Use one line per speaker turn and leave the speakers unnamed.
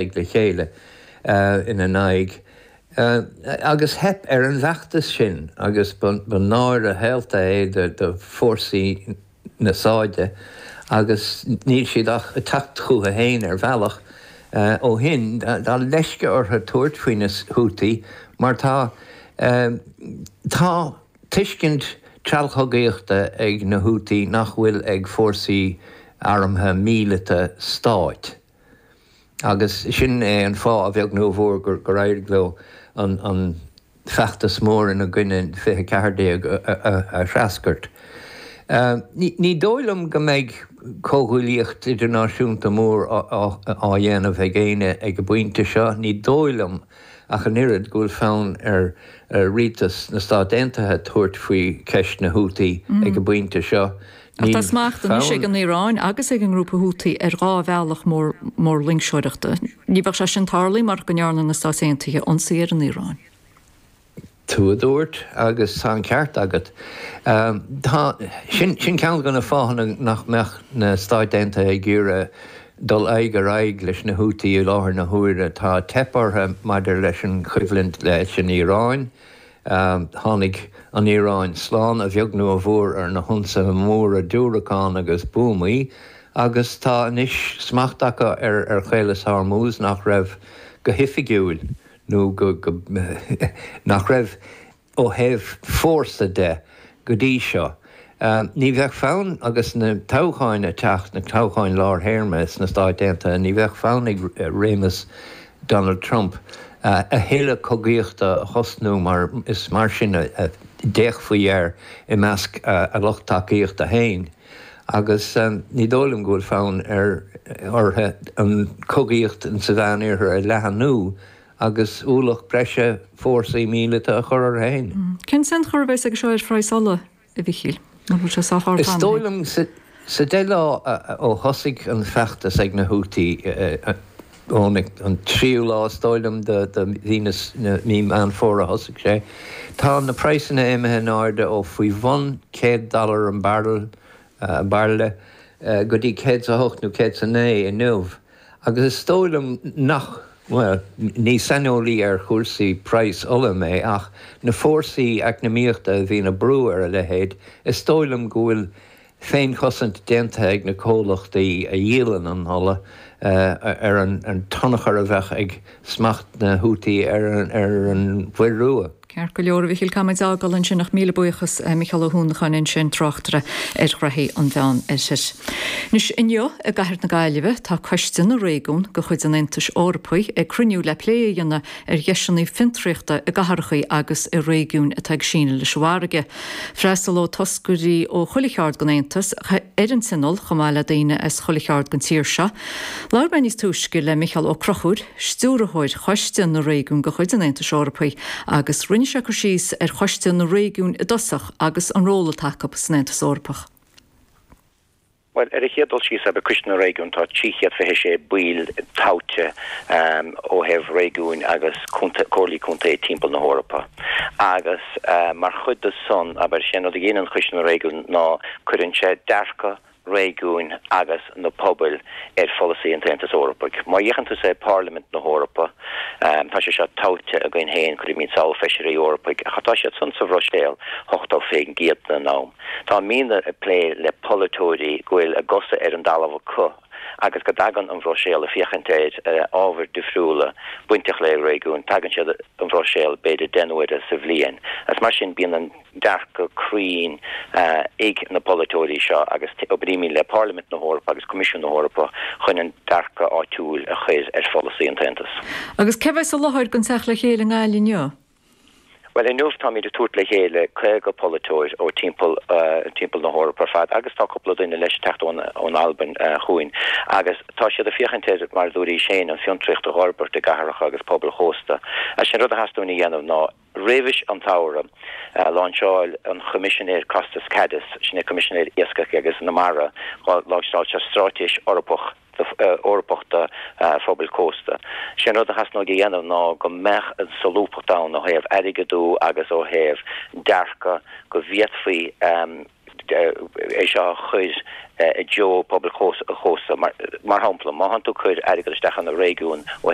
Le chéile ina n-aghaidh agus theip ar an bhfeachtas sin agus ba náire shaolta é do fórsaí na Sáide agus níl siad ach ag teacht chucu féin ar bhealach ó shin. Tá leisce orthu tabhairt faoi na Houthi mar tá tá tuiscint treallchogaíochta ag na Houthi nach bhfuil ag fórsaí armtha míleata stáit. Agus sin é an fáth, a bheag nó a mhór, gur éirigh leo an feachtas mór ina gcoinne in 2014 a threascairt. Ní dóigh liom go mbeidh comhghuaillíocht idirnáisiúnta mór á dhéanamh ag éinne ag an bpointe seo. Ní dóigh liom ach an oiread go bhfuil fonn ar rialtas na Stát Aontaithe tabhairt faoi cheist na Houthi ag an bpointe seo.
Ach tá smacht anois ag an Iaráin agus ag an ngrúpa Houthi ar dhá bhealach mór loingseoireachta. Ní bheadh sé sin tarlaithe marach go ndearna na Stáit Aontaithe ionsaí ar an Iaráin.
Tú a dúirt, agus tá an ceart agat. Tá, sin ceann de na fáthanna nach mbeadh na Stáit Aontaithe ag iarraidh dul aghaidh ar aghaidh leis na Houthi i láthair na huaire. Tá teip orthu maidir leis an choimhlint leis an Iaráin. Tháinig an Iaráin slán, a bheag nó a mhór, ar na hionsaithe móra diúracán agus buamaí agus tá anois smacht acu ar Chaolas Hormuz nach raibh go hoifigiúil nó go nach raibh ó thaobh fórsa de go dtí seo. Ní bheadh fonn, agus na toghcháin ag teacht, na toghcháin lárthéarma sna Stáit Aontaithe, ní bheadh fonn ag réimeas Donald Trump a thuilleadh cogaíochta a thosnú mar is mar sin a d'fhéachfaí air i measc a lucht tacaíochta féin agus ní dóigh liom go bhfuil fonn ar orthu an chogaíocht sa Mheánoirthear a leathnú agus ualach breise fórsaí míleata a chur orthu féin.
Cén tionchar a bheas aige seo ar phraghas ola, a Mhichíl? An bhfuil sé sách ard
Is dóigh liom sa deich lá ó thosaigh an feachtas ag na Houthi, ón an tríú lá is dóigh liom de mhí na mí Meán Fómhair a thosaigh sé, tá na praghsanna imithe in airde ó faoi bhun 100 dollar an barrel, bairille, go dtí 108 nó 109 inniu. Agus is dóigh liom nach, bhuel, ní saineolaí ar chúrsaí praghas ola mé, ach na fórsaí eacnamaíochta a bhíonn ag brú ar a leithéid, is dóigh liom go bhfuil féinchosaint déanta ag na comhlachtaí a dhíolann an ola ar an tionchar a bheadh ag smacht na Houthi ar an Mhuir Rua.
Ceart go leor, a Mhichíl, caithfimid é a fhágáil ansin ach míle buíochas, Micheál Ó hUanacháin ansin, tráchtaire ar ghraithí an Mheán Oirthir. Anois, inniu i gcathair na Gaillimhe, tá Coiste na Réigiún de chuid an Aontais Eorpaigh ag cruinniú le plé a dhéanamh ar dheiseanna fiontraíochta i gcathracha agus i réigiúin atá ag síneadh leis an bhfarraige. Freastalóidh toscairí ó chuile cheard den Aontas ar an tionól chomh maith le daoine as chuile cheard den tír seo. Labhair mé níos túisce le Micheál Ó Conchúir, Stiúrthóir Choiste na Réigiún de chuid an Aontais Eorpaigh, agus rinne sé cur síos ar Choiste na Réigiún i dtosach agus an ról atá acu san Aontas Eorpach.
Bhuel, ar an chéad dul síos, abair, Coiste na Réigiún, tá 326 baill tofa ó thaobh réigiúin agus comhairlí contae timpeall na hEorpa. Agus mar chuid de san, abair, sé an rud a dhéanann Coiste na Réigiún ná cuireann sé dearcadh réigiúin agus na pobail ar pholasaí an tAontais Eorpaigh. Má fhéachann tusa ar Pharlaimint na hEorpa, tá sé seo tofa againn féin, cuirimid sall feisirí Eorpaigh, ach tá siad san sa Bhruiséil 80% den am. Táimidne ag plé le polaiteoirí go bhfuil a gcosa ar an dtalamh acu agus go dtagann an Bhruiséil ag féachaint ar ábhair difriúla bainteach le réigiúin, tagann siad an Bhruiséil b'fhéidir 10 n-uaire sa bhliain. Agus mar sin bíonn an. dearcadh cruinn ag na polaiteoirí seo agus oibrímid le Parlaimint na hEorpa agus Coimisiún na hEorpa chun an dearcadh áitiúil a chur ar pholasaí an tAontais.
Agus cé bheas i láthair don teacht le chéile i nGaillimh inniu?
Bhuel, inniu táimid ag tabhairt le chéile 50 polaiteoir ó timpeall timpeall na hEorpa ar fad agus tá cúpla duine leis ag teacht ón ón Albain chugainn agus tá siad ag féachaint ar, mar a dúraís féin, an fiontraíocht a dh'fhorbairt i gcathracha agus pobail chósta. Is é an rud a theastaíonn uainn a dhéanamh ná Roimhis an tsamhradh, láinseáil an Choimisinéir Costas Kadis, sin é Coimisinéir Iascaigh agus na Mara, láinseáil sé Straitéis Eorpach Eorpach do Phobail Cósta. Sé an rud a theasnóidh a dhéanamh ná go mbeadh an solúbthacht ann ó thaobh airgeadú agus ó thaobh dearcadh go bhféadfaí. É seo a chur i dtreo pobal an chósta. Mar shampla, má thánn tú ag cur airgead isteach ina réigiún ó.